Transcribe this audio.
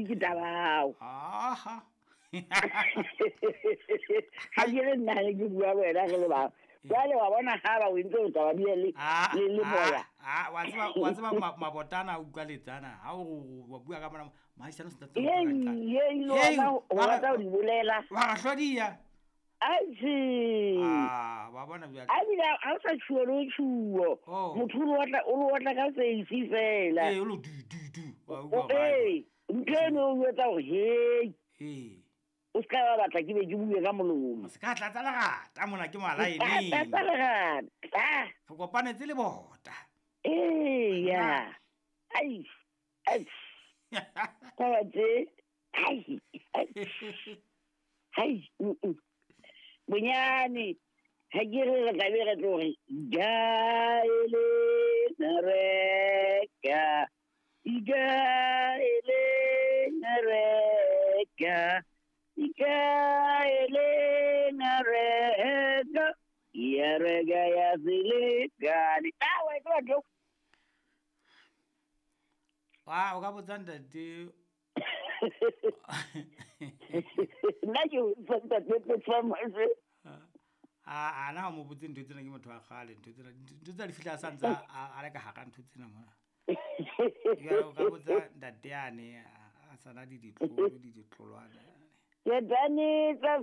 ke tabao. Aha. Ga ke re nna ge ke bua le wena re le bang. Jwale wa bona ha ba o entse o tla ba bile le le le moya. Ah, wa tseba wa tseba mabotana a utlwa letsana. Ha o wa bua ka mona mahisano se tla. Ye ye le wena o rata ho di bolela. Wa ra hlodiya. Atjhe. Ah, wa bona bjale. A bile ha o sa tjhuo le o tjhuo. Oh. Motho o lo otla o lo otla ka face fela. Ee, o lo du du du. Wa utlwa. Ee, ntho eno o etsa hore hei. Ee. O se ka ba batla ke be ke bue ka molomo. Se ka tlatsa lerata mona ke malaeneng. Tlatsa lerata. Re kopanetse le bota. Eya. Ai. Ai. Taba tse. Ai. Ai. Ai. Bonyane. Ha ke re re tla be re tlo re gaele reka. Ikaele reka. Ikaele reka. Ya reka ya selekane. Ah, wa e tseba ntho? Wa o ka botsa ntate. Nna ke botsa ntate Petsamase. A na o mo botse ntho tsena ke motho wa kgale ntho tsena ntho tsena di fihla a sa ntse a le ka hara ntho tsena mona. Jwale o ka botsa ntate yane a sana di ditlolo di ditlolwana. Ke tsa